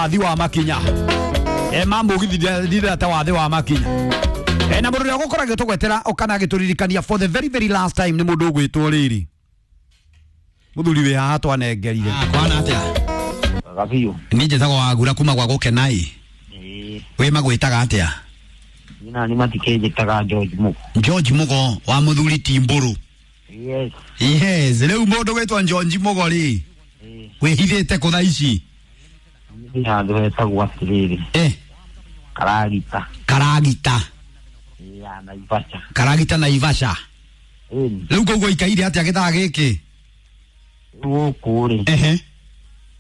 wathi wa makinya. Ma mugithi ndireta wathi wa makinya. Na mundu uria gukoragwo tugwetera ukana agituririkania for the very very last time ni mundu ugwitwo riri. Muthuri wi haha twanengerire. Kwana atia? Gabiu. Ni njĩtagwo Wagura kuma gwa Gũkenai. Ĩĩ. Wĩ magwĩtaga atĩa? Nina ni matikĩnjĩtaga George Mugo. George Mugo wa muthuri ti Mbũrũ. Yes. Yes, rĩu mũndũ gwĩtwo George Mugo rĩ, Ĩĩ. wĩhithĩte kũ thaa ici? Nĩ handũ hetagwo atĩrĩrĩ. Karagita. Karagita. Ĩĩ, ya Naivasha. Karagita Naivasha. Ĩni. Rĩu koguo ikaire atĩa gĩthaa gĩkĩ? Gũkũ rĩ. Ehe.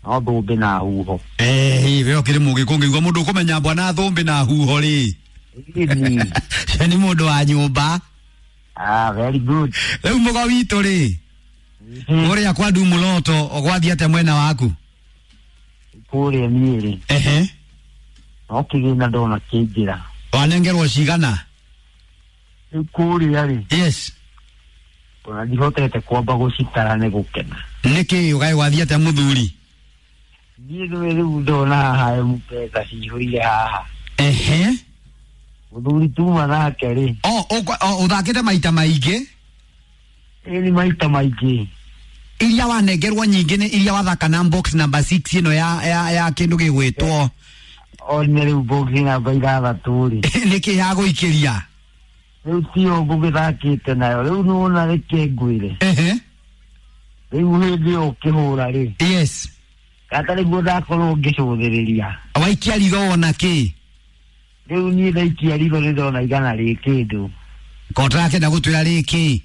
No thũmbĩ na huho. We ũkĩrĩ mũgĩkũ ngĩigua mũndũ ũkũmenya mbwa na thũmbĩ na huho rĩ. Ĩni. Cio nĩ mũndũ wa nyũmba. Ah, very good. Rĩu mũgo witũ rĩ, ũrĩa kwa Ndumuloto ũgwathiĩ atĩa mwena waku? Kũrĩa niĩ rĩ. Ehe. No kĩgĩna ndona kĩingĩra. Wanengerwo cigana? Rĩu kũrĩa rĩ. Yes. Ona ndihotete kwamba gũcitara nĩ gũkena. Nĩkĩ ũgaĩ gwathiĩ atĩa mũthuri? Niĩ nĩwe rĩu ndona haha mbeca cihũire haha. Ehe. Mũthuri tuma nake rĩ. O ũthakĩte maita maingĩ? Ĩĩ nĩ maita maingĩ. Iria wanengerwo nyingĩ nĩ iria wathaka na box number 6 ĩno ya kĩndũ gĩgwĩtwo. One rĩu box namba 6 rĩ. Nĩkĩ ya gũikĩria? Rĩu tiyo ngũgĩthakĩte nayo. Rĩu nĩwona reke ngwĩre. Ehe. Rĩu hĩndĩ ĩyo ũkĩhũra rĩ. Yes. Kata nĩguo ndakorwo ngĩcũthĩrĩria. Waikia ritho wona kĩ? Rĩu niĩ ndaikia ritho nĩ ndona igana rĩ kĩndũ. Kotarakenda gũtwĩra rĩ kĩ?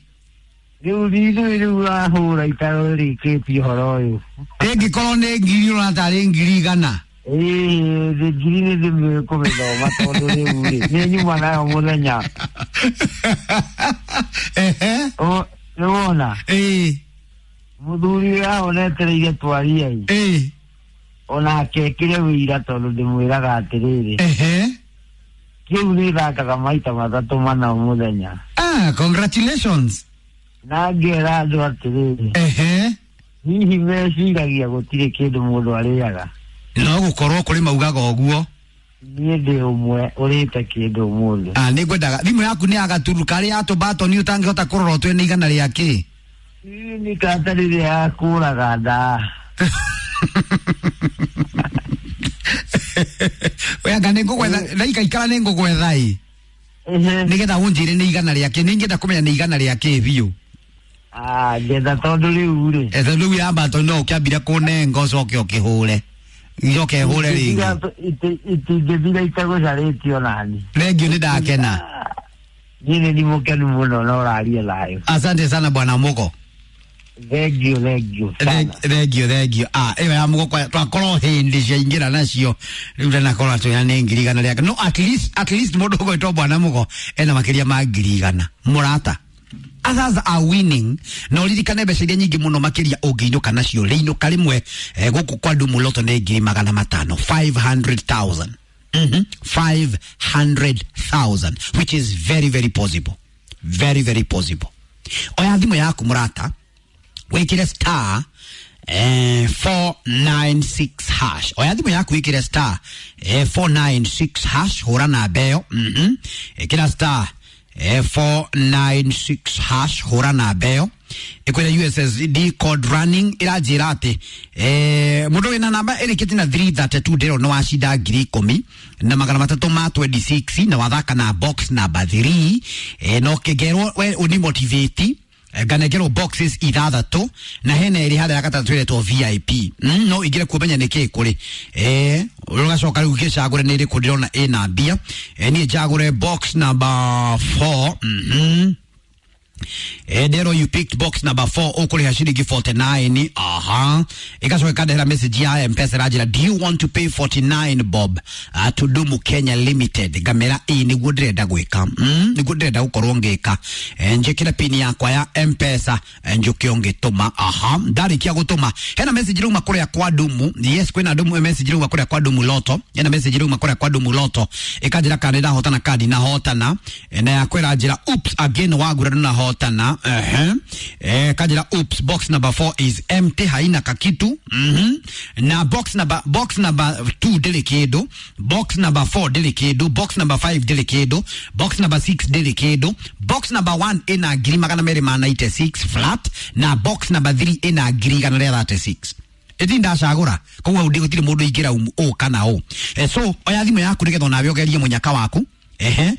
Rĩu ithuĩ rĩu wahũra itarũrĩkĩtie ũhoro ũyũ. Ĩngĩkorwo nĩ ngiri ũrona tarĩ ngiri igana. Ĩĩ, ngiri nĩ ndĩmĩũĩ kũmĩthoma tondũ rĩu rĩ, nĩ nyuma nayo mũthenya. Ehe. Nĩwona? Ĩĩ. Mũthuri aonetereire twaria ĩ. Ĩĩ. Onake ekĩre wĩira tondũ ndĩmwĩraga atĩrĩrĩ. Ehe. Kĩu nĩthakaga maita matatũ mana mũthenya. Ah, congratulations. Na ngera andũ atĩrĩrĩ. Ehe. Hihi meciragia gũtirĩ kĩndũ mũndũ arĩaga. No gũkorwo kũrĩ maugaga ũguo. Niĩ ndĩ ũmwe ũrĩte kĩndũ ũmũthĩ. Ah, nĩ ngwendaga thimũ yaku nĩ ya gaturu karĩa ya tũmbatoni ũtangĩhota kũrora ũtue nĩ igana rĩa kĩ. Ĩ, nĩ kata rĩrĩa yakũraga nda. We anga nĩ ngũgwetha ndaikaikara nĩ ngũgwetha ĩ. Nĩgetha ũnjĩre nĩ igana rĩa kĩ. Nĩ ingĩenda kũmenya nĩ igana rĩa kĩ biũ. Ah, ngetha tondũ rĩu rĩ. Tondũ rĩu ya mbatoni no ũkĩambire kũnenga ũcoke ũkĩhũre. Njoke hũre rĩngĩ. Itingĩthira itagũcarĩtio nani. Thengiũ nĩ ndakena. Niĩ nĩ mũkenu mũno na ũraria thayũ. Asante sana bwana Mugo. Thengiũ, thengiũ sana. Thengiũ, thengiũ. Ah, ĩyo ya Mugo twakorwo hĩndĩ ciaingĩra nacio. Rĩu ndanakorwo atwĩra nĩ ngiri igana rĩake. No at least mũndũ ũgwĩtwo bwana Mugo ena makĩria ma ngiri igana. Mũrata. Others are winning. Na ũririkane mbeca iria nyingĩ mũno makĩria ũngĩinũka nacio. Rĩinũka rĩmwe gũkũ kwa Ndumuloto nĩ ngiri magana matano. 500,000. 500,000, which is very very possible. Very very possible. Oya thimũ yaku mũrata, wĩkĩre star 496 hash. Oya thimũ yaku wĩkĩre star 496 hash, hũra namba ĩyo. Ĩkĩra star 496 hash, hũra namba ĩyo. Ĩkwĩra USSD code running ĩranjĩra atĩ mũndũ wĩna namba ĩrĩkĩtie na 332 ndĩrona wacinda ngiri ikũmi na magana matatũ ma 26 na wathaka na box number 3 na ũkĩngerwo we ũni motivate nganengerwo boxes ithathatũ na hena ĩrĩ harĩa ya gatatũ ĩretwo VIP. No ingĩre kuomenya nĩ kĩ kũrĩ ũgacoka rĩu ngĩcagũre nĩ ĩrĩkũ ndĩrona ĩna mbia. Niĩ njagũre box number 4. Ndero you picked box number 4 ũkũrĩha ciringi 49. Aha. Ĩgacoka ĩkandehera message ya M-Pesa ĩranjĩra do you want to pay 49 bob to Dumu Kenya Limited. Ngamera ĩ nĩguo ndĩrenda gwĩka. Nĩguo ndĩrenda gũkorwo ngĩka. Njĩkĩre pin yakwa ya M-Pesa njũke ngĩtũma. Aha. Ndarĩkia gũtũma hena message rauma kũrĩa kwa Dumu. Yes, kwĩna Dumu message rauma kũrĩa kwa Dumu Lotto. Hena message rauma kũrĩa kwa Dumu Lotto ĩkanjĩra kana nĩndahotana kana ndinahotana. Na yakwĩra njĩra oops again wagura ndũnahotana. wahotana. Ehe, kanjira oops, box number 4 is empty, haina kakitu. Na box number 2 ndĩrĩ kĩndũ, box number 4 ndĩrĩ kĩndũ, box number 5 ndĩrĩ kĩndũ, box number 6 ndĩrĩ kĩndũ, box number 1 ĩna 296,000 flat, na box number 3 ĩna 136,000. Ĩti ndacagũra koguo hau gũtirĩ mũndũ ingĩra ũ kana ũ. So oya thimũ yaku nĩgetha onawe ũgerie mũnyaka waku. Ehe,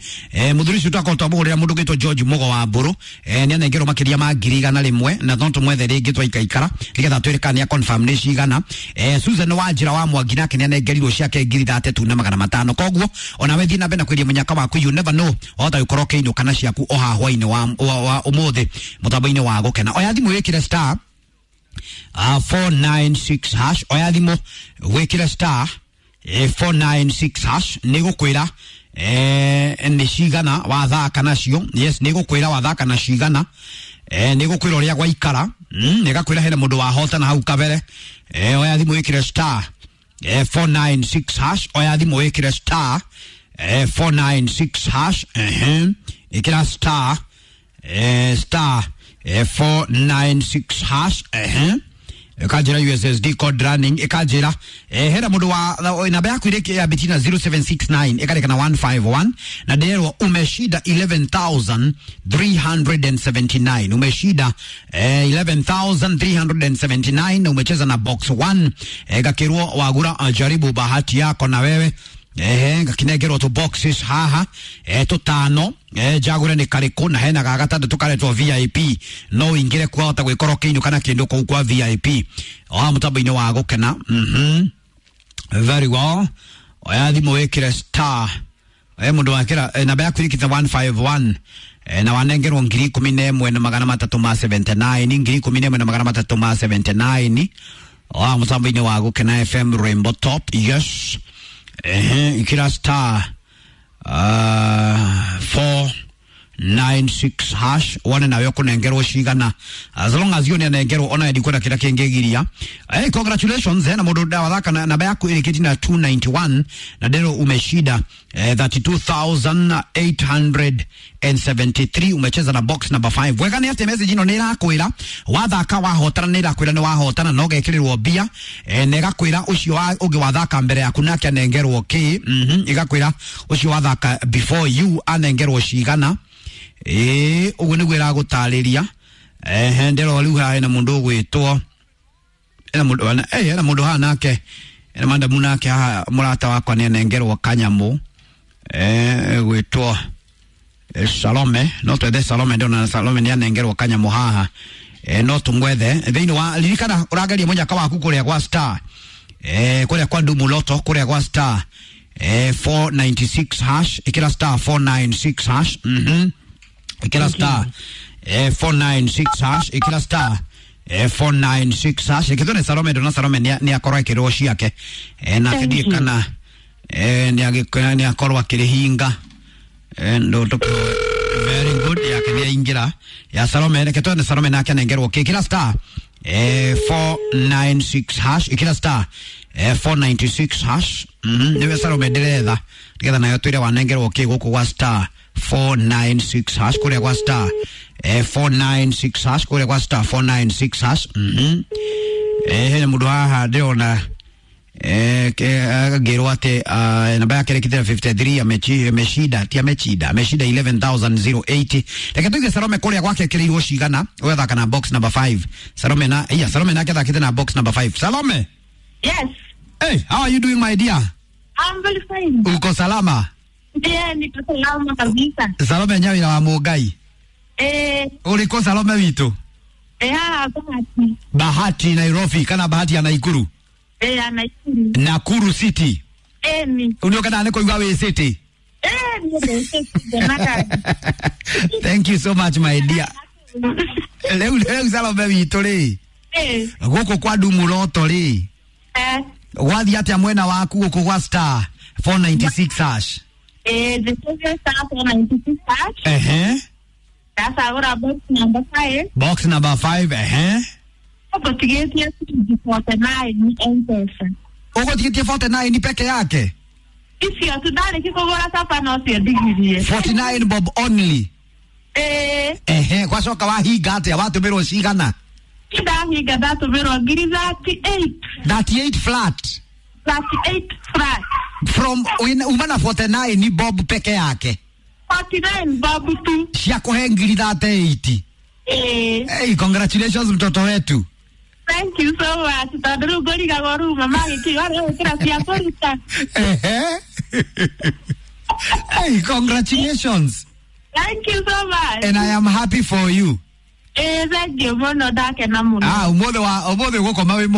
muthuri ucio twakorwo twamũgũrĩra mũndũ ũgĩtwo George Mugo wa Mbũrũ, nĩ anengerwo makĩria ma 100,000, na no tũmwethe rĩngĩ twaikaikara nĩgetha twĩre kana nĩ confirm nĩ cigana. Susan wa njĩra wa Mwangi nake nĩ anengerirwo ciake 35,500. Koguo onawe thiĩ na mbere na kwĩria mũnyaka waku, you never know, wahota gũkorwo ũkĩinũka na ciaku o haha hwainĩ wa ũmũthĩ mũtambo-inĩ wa gũkena. Oya thimũ wĩkĩre star 496 hash. Oya thimũ wĩkĩre star 496 hash, nĩ gũkwĩra nĩ cigana wathaka nacio. Yes, nĩ gũkwĩra wathaka na cigana, nĩ gũkwĩra ũrĩa gwaikara, nĩ gakwĩra hena mũndũ wahotana hau kabere. Oya thimũ wĩkĩre star 496 hash. Oya thimũ wĩkĩre star 496 hash. Ehe, ĩkĩra star star 496 hash. Ehe, ikanjĩra USSD code running, ikanjĩra hena mũndũ wa namba yaku irĩkĩ ya betina 0769 ĩkarĩka na 151, na ndĩrerwo umeshinda 11,379. Umeshinda 11,379 na umecheza na box 1. Gakĩrwo wagura, jaribu bahati yako na wewe. Ehe, ngakinengerwo tu boxes haha tũtano, njagũre nĩ karĩkũ, na hena ga gatandatũ karetwo VIP, no ũingĩre kwahota gwĩkorwo kĩinũ kana kĩndũ kũu kwa VIP o mũtambo-inĩ wa gũkena. Very well. Oya thimũ wĩkĩre star, mũndũ wakĩra namba yaku ĩrĩkĩte 151, na wanengerwo 11,379, 11,379 o mũtambo-inĩ wa gũkena FM Rainbow Top. Yes. Ehe, ikira star 496 hash wone nawe ũkũnengerwo cigana. As long as you nĩ anengerwo, ona ndikwenda kĩrĩa kĩngĩgiria. Hey, congratulations. Na mũndũ ndawathaka na namba yaku ĩrĩkĩtie na 291, na ndero umeshinda 32,873, umecheza na box number 5. Wega nĩ atĩ message ĩno nĩ ĩrakwĩra wathaka wahotana, nĩ ĩrakwĩra nĩ wahotana na ũgekĩrĩrwo mbia, na ĩgakwĩra ũcio ũngĩ wathaka mbere yaku nake anengerwo kĩ. Ĩgakwĩra ũcio wathaka before you anengerwo cigana. Ĩĩ, ũguo nĩguo ĩragũtarĩria. Ehe, ndĩrora rĩu haha hena mũndũ ũgwĩtwo, hena mũndũ, hena mũndũ haha nake, hena madamu nake haha, mũrata wakwa nĩ anengerwo kanyamũ, gwĩtwo Salome. No twethe Salome, ndona Salome nĩ anengerwo kanyamũ haha. No tũmwethe thĩinĩ wa ririkana ũrageria mũnyaka waku kũrĩa gwa star, kũrĩa kwa Ndumu Loto, kũrĩa gwa star 496 hash. Ĩkĩra star 496 hash. Ĩkĩra star 496 hash. Ĩkĩra star 496 hash. Ĩkĩtwo nĩ Salome, ndona Salome nĩ akorwo akĩrwo ciake, nake ndiĩ kana nĩ akorwo akĩrĩhinga. Ndo very good, yake nĩ aingĩra ya Salome. Reke twone Salome nake anengerwo kĩ. Ĩkĩra star 496 hash. Ĩkĩra star 496 hash. Nĩwe Salome ndĩretha nĩgetha nayo twĩre wanengerwo kĩ gũkũ gwa star 496 hash, kũrĩa gwa star 496 hash, kũrĩa gwa star 496 hash. Hena mũndũ haha ndĩrona ngĩrwo atĩ namba yake ĩrĩkĩte 53, ameshinda, ti ameshinda, ameshinda 11,080. Reke tuige Salome kũrĩa gwake ĩkĩrĩirwo cigana, ũgathaka na box number 5. Salome na iya Salome nake athakĩte na box number 5. Salome. Yes. Hey, how are you doing, my dear? I'm very fine. Uko salama? Yeah, niko salama kabisa. Salome nyawira wa Mũngai. Ũrĩkũ Salome witũ? Haha Bahati. Bahati Nairobi kana Bahati ya Naikuru? Ya Nakuru. Nakuru City. Ni. Unioka nĩ kũigua wĩ city. Ni. Thank you so much, my dear. Rĩu Salome witũ rĩ, gũkũ kwa Ndumu Loto rĩ, gwathiĩ atĩa mwena waku gũkũ gwa star 496 hash? The star 496 hash. Ehe. Ndacagũra box number 5. Box number 5, ehe. Ũgũtigĩtie ciringi 49 M-Pesa. Ũgũtigĩtie 49 peke yake? Icio tu ndarĩki kũgũra capa no cio ndigirie. 49 bob only. Ĩĩ. Ehe, gwacoka wahinga atĩa, watũmĩrwo cigana? Ndahinga ndatũmĩrwo ngiri 38. 38 flat? 38 flat. From uma na 49 ni bob peke yake? 49 bob tu. Cia kũhe ngiri 38. Ĩĩ. Hey, congratulations mtoto wetu. Thank you so much. Tondũ rĩu ngũrigagwo rĩu mama agĩkiuga rĩu ĩkĩra cia kũruta. Ehe. Hey, congratulations. Thank you so much. And I am happy for you. Ĩĩ, thank you mũno, ndakena mũno. Ah, umuthi wa umuthi gukoma wi.